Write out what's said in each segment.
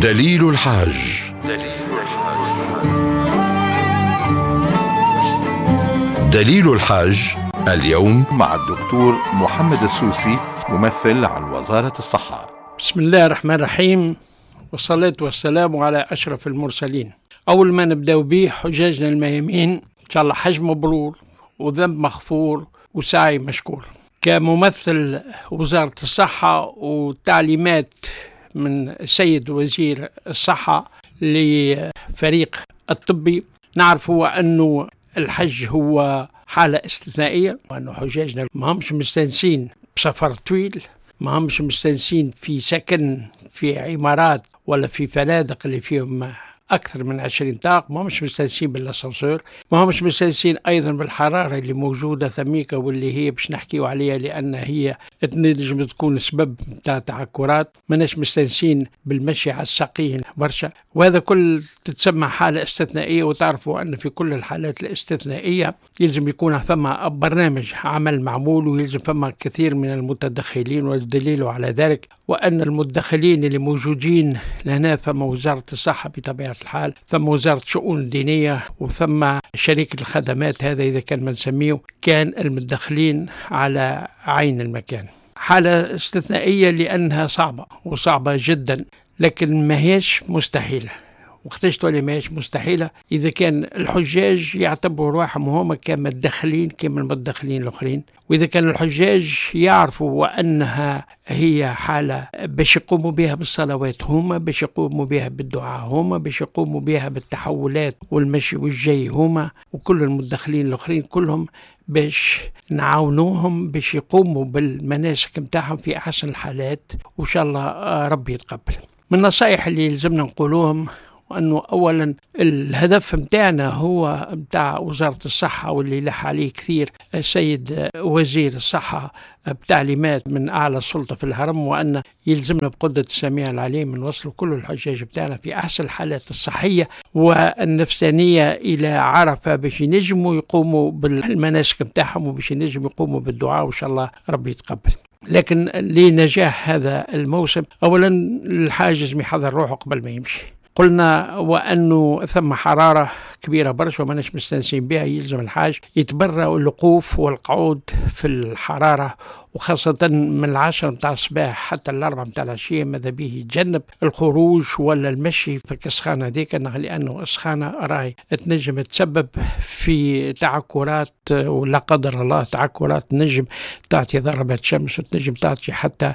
دليل الحاج. دليل الحاج اليوم مع الدكتور محمد السوسي، ممثل عن وزارة الصحة. بسم الله الرحمن الرحيم، والصلاة والسلام على أشرف المرسلين. أول ما نبدأ به حجاجنا الميامين، إن شاء الله حج مبرور وذنب مغفور وسعي مشكور. كممثل وزارة الصحة وتعليمات من السيد وزير الصحة لفريق الطبي، نعرف أنه الحج هو حالة استثنائية، وأنه حجاجنا ما همش مستانسين بسفر طويل، ما همش مستانسين في سكن في عمارات ولا في فنادق اللي فيهم أكثر من 20 طاق، ما همش مستانسين بالأسانسور، ما همش مستانسين أيضا بالحرارة اللي موجودة ثميكة واللي هي باش نحكيو عليها لأن هي تنجم تكون سبب نتاع تعكرات، ماناش مستانسين بالمشي على الساقين برشا، وهذا كل تتسمى حالة استثنائية. وتعرفوا أن في كل الحالات الاستثنائية يلزم يكون فما برنامج عمل معمول، ويلزم فما كثير من المتدخلين، والدليل على ذلك وأن المتدخلين اللي موجودين لهنا فما وزارة الصحة بطبيعة الحال، ثم وزارة الشؤون الدينية، وثم شركة الخدمات، هذا إذا كان ما نسميه كان المتدخلين على عين المكان. حالة استثنائية لأنها صعبة وصعبة جدا، لكن ما هيش مستحيلة. وقتاش تولي ماهيش مستحيلة؟ إذا كان الحجاج يعتبروا رواحهم هما كمتدخلين كما المتدخلين الآخرين، وإذا كان الحجاج يعرفوا وأنها هي حالة باش يقوموا بها بالصلوات هما، باش يقوموا بها بالدعاء هما، باش يقوموا بها بالتحولات والمشي والجاي هما، وكل المتدخلين الآخرين كلهم باش نعاونوهم باش يقوموا بالمناسك متاعهم في أحسن الحالات، وإن شاء الله ربي يتقبل. من النصائح اللي يلزمنا نقولوهم وأنه أولا الهدف متاعنا هو متاع وزارة الصحة واللي لح عليه كثير السيد وزير الصحة بتعليمات من أعلى سلطة في الهرم، وأن يلزمنا بقدرة السميع العليم نوصلوا كل الحجاج بتاعنا في أحسن الحالات الصحية والنفسانية إلى عرفة باش ينجموا يقوموا بالمناسك متاعهم وباش ينجموا يقوموا بالدعاء، وإن شاء الله ربي يتقبل. لكن لنجاح هذا الموسم أولا الحاج يحضر روحه قبل ما يمشي. قلنا وأنه ثم حرارة كبيرة برشا وماناش مستانسين بها، يلزم الحاج يتبرأ الوقوف والقعود في الحرارة، وخاصة من 10 متاع الصباح حتى 4 متاع العشية، ماذا به يتجنب الخروج ولا المشي في السخانة هذيك، لأنه السخانة راهي تنجم تسبب في تعكرات، ولا قدر الله تعكرات تنجم تعطي ضربات شمس وتنجم تعطي حتى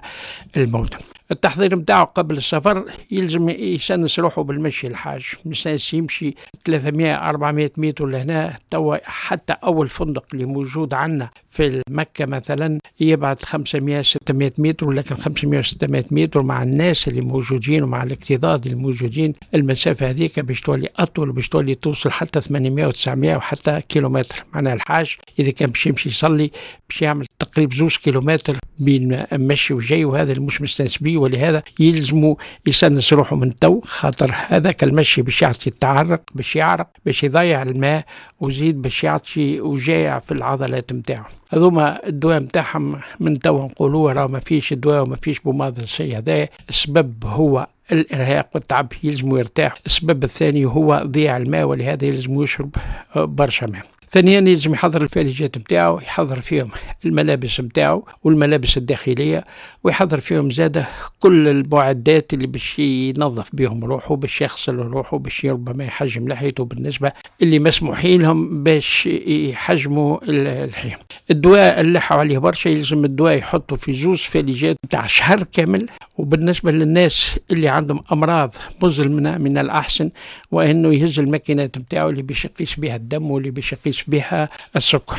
الموت. التحضير متاعه قبل السفر يلزم يسنس روحه بالمشي، الحاج مستانس يمشي 300-400 متر لهنا. توا حتى أول فندق اللي موجود عندنا في مكة مثلا يبعد 500-600 متر، ولكن 500-600 متر مع الناس اللي موجودين ومع الاكتظاظ الموجودين المسافة هذيك باش تولي أطول، باش تولي توصل حتى 800 و900 وحتى كيلومتر. معناها الحاج إذا كان باش يمشي يصلي باش يعمل تقريبا 2 كيلومتر بين مشي وجاي، وهذا اللي مش مستانس بيه، ولهذا يلزموا يسنس روحه من تو، خاطر هذاك المشي باش يعطي التعرق، باش يعرق، باش يضيع الماء، وزيد باش يعطي وجاع في العضلات نتاعو. هذوما الدواء نتاعهم من تو نقولوه راه ما فيش دواء وما فيش بوماض شيء، هذا السبب هو الإرهاق والتعب، يلزموا يرتاح. السبب الثاني هو ضياع الماء، ولهذا يلزم يشرب برشا ماء. ثانيا يلزم يحضر الفاليجات نتاعو، يحضر فيهم الملابس نتاعو والملابس الداخلية، ويحضر فيهم زاده كل المعدات اللي باش ينظف بهم روحه، باش يغسل روحه، باش ربما يحجم لحيته بالنسبة اللي مسموحين لهم باش يحجموا اللحية. الدواء اللي لحوا عليه برشا يلزم الدواء يحطه في 2 فاليجات نتاع شهر كامل. وبالنسبة للناس اللي عندهم أمراض مزمنة من الأحسن وأنه يهز الماكينات نتاعو اللي باش يقيس بها الدم واللي باش يقيس بها السكر.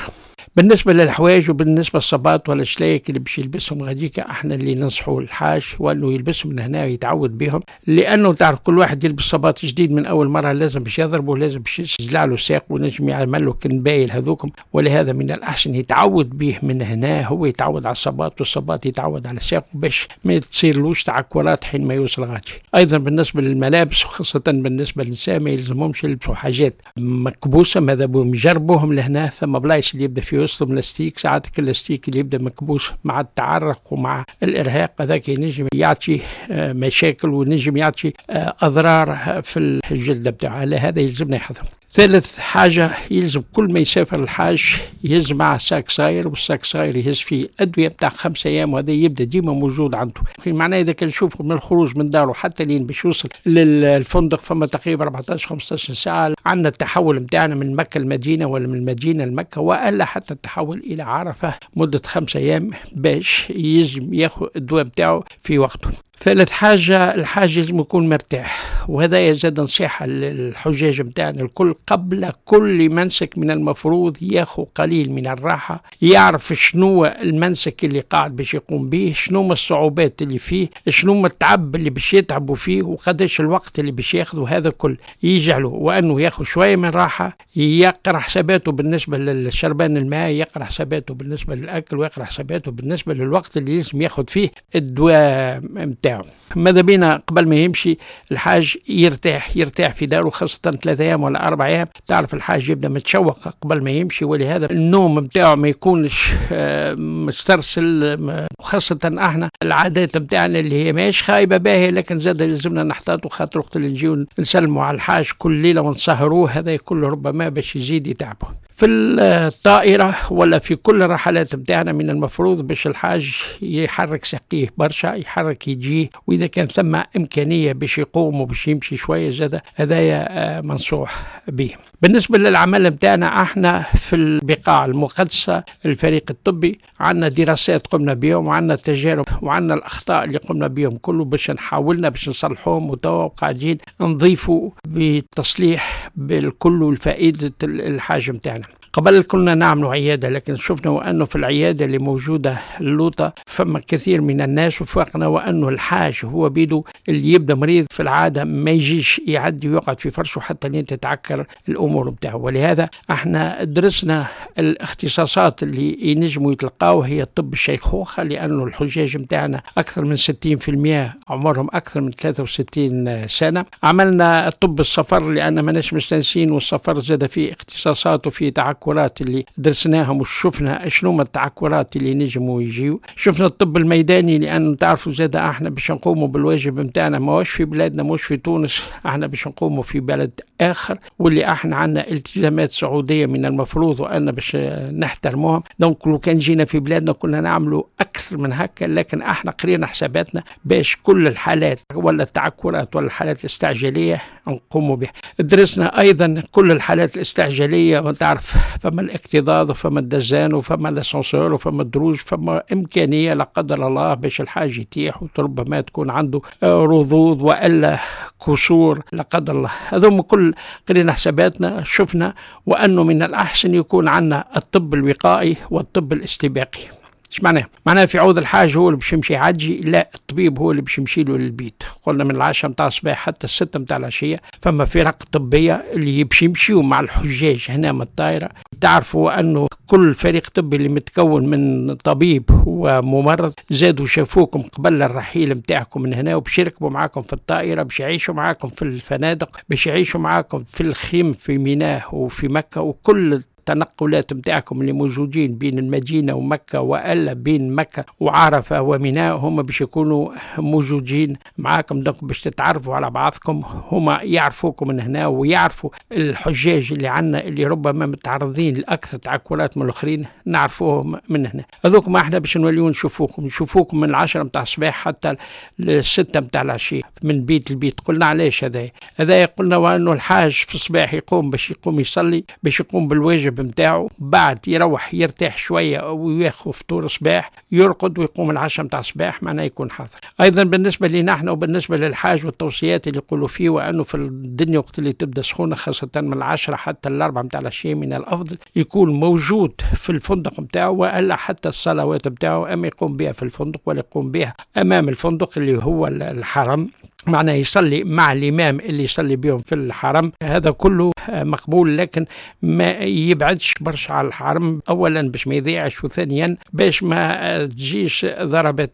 بالنسبة للحوايج وبالنسبة للصباط ولا الشلايك اللي باش يلبسهم غاديك، احنا اللي ننصحوا الحاج وانه يلبسهم من هنا ويتعود بهم، لانه تعرف كل واحد يلبس صباط جديد من اول مرة لازم باش يضربه، لازم باش يزلع له ساق ونجم يعمل له كنبايل هذوكم، ولهذا من الاحسن يتعود به من هنا، هو يتعود على الصباط والصباط يتعود على ساقه باش ما تصيرلوش تعكرات حين ما يوصل غادي. ايضا بالنسبة للملابس وخاصة بالنسبة للنساء ما يلزمهمش يلبسوا حاجات مكبوسة، ماذا بهم يجربوهم لهنا، ثم بلايص اللي يبدا فيهم يوصلوا من l'élastique، ساعات اللاستيك اللي يبدا مكبوس مع التعرق ومع الارهاق هذاك ينجم يعطي مشاكل ونجم يعطي اضرار في الجلد بتاعه. على هذا يلزمنا يحذر. ثالث حاجة، يلزم كل ما يسافر الحاج يهز معه sac صغير، وال sac صغير يهز فيه أدوية بتاع 5 أيام، وهذا يبدأ ديما موجود عنده. معناه إذا كان نشوفه من الخروج من داره حتى لين باش يوصل للفندق فما تقريبا 14 15 ساعة. عندنا التحول نتاعنا من مكة المدينة ولا من المدينة لمكة، وإلا حتى التحول إلى عرفة مدة 5 أيام باش يجم ياخذ الدواء بتاعه في وقته. ثالث حاجة، الحاج لازم يكون مرتاح، وهذا زاد نصيحة للحجاج متاعنا الكل: قبل كل منسك من المفروض ياخذ قليل من الراحة، يعرف شنو المنسك اللي قاعد باش يقوم به، شنو الصعوبات اللي فيه، شنو التعب اللي باش يتعبوا فيه، وقداش الوقت اللي باش ياخذه. هذا الكل يجعله وأنه ياخذ شوية من راحة، يقرأ حساباته بالنسبة للشربان الماء، يقرأ حساباته بالنسبة للأكل، ويقرأ حساباته بالنسبة للوقت اللي لازم ياخذ فيه الدواء متاعه. ماذا بينا قبل ما يمشي الحاج يرتاح، يرتاح في داره، خاصة 3 أيام ولا 4 أيام. تعرف الحاج يبدأ متشوق قبل ما يمشي، ولهذا النوم متاعه ما يكونش مسترسل، خاصة احنا العادات متاعنا اللي هي ماهيش خايبة، باهية، لكن زاد لازمنا نحتاطوا، خاطر وقت اللي نجيو نسلموا على الحاج كل ليلة ونسهروه، هذا كله ربما باش يزيد يتعبه. في الطائرة ولا في كل الرحلات بتاعنا من المفروض باش الحاج يحرك ساقيه برشا، يحرك يجيه، وإذا كان ثم إمكانية باش يقوم وباش يمشي شوية زاد هذايا منصوح به. بالنسبة للعمل بتاعنا احنا في البقاع المقدسة، الفريق الطبي، عندنا دراسات قمنا بهم وعندنا تجارب وعندنا الأخطاء اللي قمنا بهم كله باش نحاولنا باش نصلحوهم، وتوا قاعدين نضيفوا بتصليح بالكل لفائدة الحاج متاعنا. قبل كنا نعمل عيادة، لكن شفنا وأنه في العيادة اللي موجودة اللوطة فما كثير من الناس، وفقنا وأنه الحاج هو بيدو اللي يبدأ مريض في العادة ما يجيش يعدي ويقعد في فرشه حتى لين تتعكر الأمور بتاعه. ولهذا احنا درسنا الاختصاصات اللي ينجموا يتلقاو هي طب الشيخوخة، لأنه الحجاج متاعنا أكثر من 60% عمرهم أكثر من 63 سنة. عملنا طب السفر لأن ماناش مستانسين، والسفر زاد فيه اختصاصات وفيه تعكرات اللي درسناهم وشفنا شنو ما التعكرات اللي نجموا يجيو. شفنا الطب الميداني، لأنه تعرفوا زاد احنا باش نقوموا بالواجب نتاعنا ماهوش في بلادنا، ماهوش في تونس، احنا باش نقوموا في بلد آخر، واللي احنا عندنا التزامات سعودية من المفروض وأن باش نحترموهم. donc لو كان جينا في بلادنا كنا نعملوا أكثر من هكا، لكن احنا قرينا حساباتنا باش كل الحالات ولا التعكرات ولا الحالات الاستعجالية نقوموا بها. درسنا أيضا كل الحالات الاستعجالية، وتعرف فما الاكتظاظ وفما الدزان وفما l'ascenseur وفما الدروج، فما إمكانية لا قدر الله باش الحاج يطيح وربما تكون عنده رضوض وإلا كسور لا قدر الله. هذوما كل قرينا حساباتنا، شفنا وأنه من الأحسن يكون عندنا الطب الوقائي والطب الاستباقي. ايش معناه؟ معناه في عوض الحاج هو اللي باش يمشي يعدي، لا، الطبيب هو اللي باش يمشي له للبيت. قلنا من 10 متاع الصباح حتى 6 متاع العشية فما فرق طبية اللي باش يمشيوا مع الحجاج هنا من الطائرة. تعرفوا أنه كل فريق طبي اللي متكون من طبيب وممرض زادوا شافوكم قبل الرحيل متاعكم من هنا، وباش يركبوا معاكم في الطائرة، باش يعيشوا معاكم في الفنادق، باش يعيشوا معاكم في الخيم في منى وفي مكة، وكل التنقلات متاعكم اللي موجودين بين المدينة ومكة وألا بين مكة وعرفة ومنى هم باش يكونوا موجودين معاكم. donc باش تتعرفوا على بعضكم، هما يعرفوكم من هنا ويعرفوا الحجاج اللي عنا اللي ربما متعرضين لأكثر تعكرات من الآخرين، نعرفوهم من هنا. هذوك ما احنا باش نوليو نشوفوكم من 10 متاع الصباح حتى 6 متاع العشية من بيت لبيت. قلنا علاش هذا؟ هذا قلنا وانه الحاج في الصباح يقوم باش يقوم يصلي، باش يقوم بالواجب نتاعو، بعد يروح يرتاح شوية وياخذ فطور صباح، يرقد ويقوم 10 متاع الصباح، معناه يكون حاضر. ايضا بالنسبة لنا احنا وبالنسبة للحاج والتوصيات اللي يقولوا فيه، وانه في الدنيا وقت اللي تبدا سخونة خاصة من 10 حتى 4 متاع العشية من الافضل يكون موجود في الفندق نتاعو، والا حتى الصلوات نتاعو اما يقوم بها في الفندق ولا يقوم بها امام الفندق اللي هو الحرم. معناه يصلي مع الإمام اللي يصلي بهم في الحرم، هذا كله مقبول، لكن ما يبعدش برشا على الحرم، أولا باش ما يضيعش، وثانيا باش ما تجيش ضربة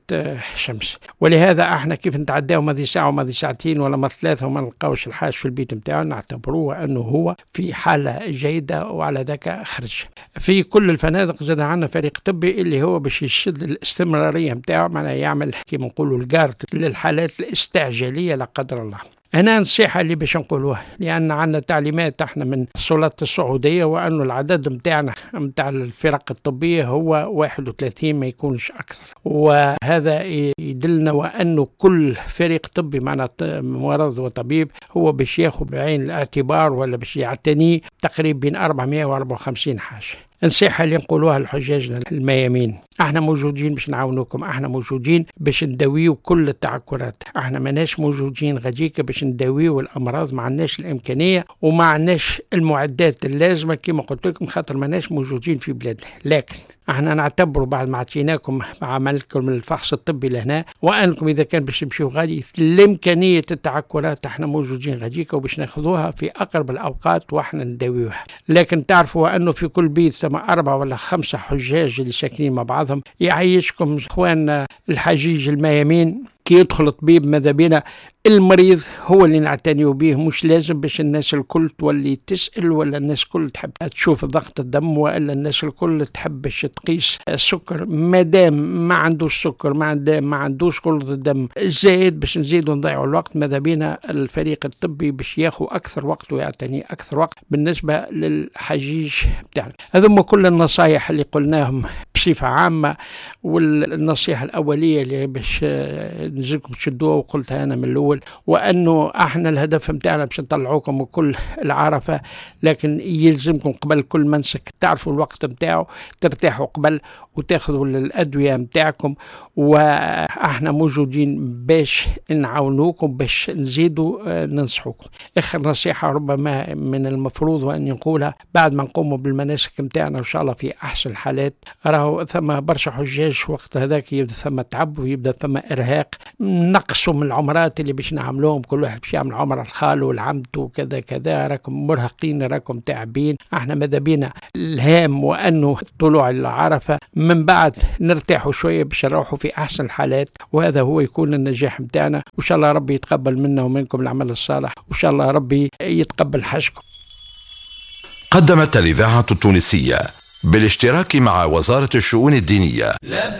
شمس. ولهذا احنا كيف نتعداو ماضي ساعة وماضي ساعتين ولا ما ثلاثة وما نلقاوش الحاج في البيت نتاعو، نعتبروه أنه هو في حالة جيدة وعلى ذاك خرج. في كل الفنادق زاد عندنا فريق طبي اللي هو باش يشد الاستمرارية نتاعو، معناها يعمل كيما نقولوا ال garde للحالات الاستعجالية لا قدر الله. هنا نصيحة اللي باش نقولوها، لأن عندنا تعليمات احنا من السلطات السعودية، وأنه العدد متاعنا متاع الفرق الطبية هو 31 ما يكونش أكثر، وهذا يدلنا وأنه كل فريق طبي معنا ممرض وطبيب هو باش ياخذ بعين الاعتبار ولا باش يعتني تقريبا بين 454 حاجة. النصيحة اللي نقولوها لحجاجنا الميامين، احنا موجودين باش نعاونوكم، احنا موجودين باش نداويو كل التعكرات، احنا ماناش موجودين غاديك باش نداويو الامراض، ما عندناش الامكانية وما عندناش المعدات اللازمة كما قلت لكم، خاطر ماناش موجودين في بلادنا. لكن احنا نعتبروا بعد ما عطيناكم عملكم الفحص الطبي لهنا، وانكم اذا كان باش تمشيو غادي لامكانيه التعكرات احنا موجودين غاديك وباش ناخذوها في اقرب الاوقات واحنا نداويوها. لكن تعرفوا انه في كل بيت ثم 4 ولا 5 حجاج اللي ساكنين مع بعضهم. يعيشكم اخواننا الحجيج الميامين، كي يدخل الطبيب ماذا بينا المريض هو اللي نعتنيو به، مش لازم باش الناس الكل تولي تسأل، ولا الناس الكل تحب تشوف ضغط الدم، ولا الناس الكل تحب باش تقيس السكر. مادام ما عندوش سكر، ما عندوش غلظ الدم زايد باش نزيدوا نضيعوا الوقت، ماذا بينا الفريق الطبي باش ياخذ أكثر وقت ويعتني أكثر وقت بالنسبة للحجيج بتاعنا. هذوما كل النصايح اللي قلناهم بصفة عامة، والنصيحة الأولية اللي باش نزيدكم تشدوها وقلتها أنا من الأول، وأنه احنا الهدف متاعنا باش نطلعوكم كل العرفة، لكن يلزمكم قبل كل منسك تعرفوا الوقت متاعه، ترتاحوا قبل وتاخذوا الأدوية متاعكم، وإحنا موجودين باش نعاونوكم باش نزيدوا ننصحوكم. آخر نصيحة ربما من المفروض وأن نقولها بعد ما نقوموا بالمناسك متاعنا إن شاء الله في أحسن الحالات، راهو ثم برشا حجاج وقت هذاك يبدا ثم تعب ويبدا ثم إرهاق، نقصوا من العمرات اللي باش نعملوهم، كل واحد باش يعمل عمره الخال والعمت وكذا كذا، راكم مرهقين راكم تعبين. احنا ماذا بينا الهام وأنه طلوع العرفة، من بعد نرتاحوا شوية باش نروحوا في أحسن الحالات، وهذا هو يكون النجاح متاعنا. وإن شاء الله ربي يتقبل منا ومنكم العمل الصالح، وإن شاء الله ربي يتقبل حجكم. قدمت الإذاعة التونسية بالاشتراك مع وزارة الشؤون الدينية.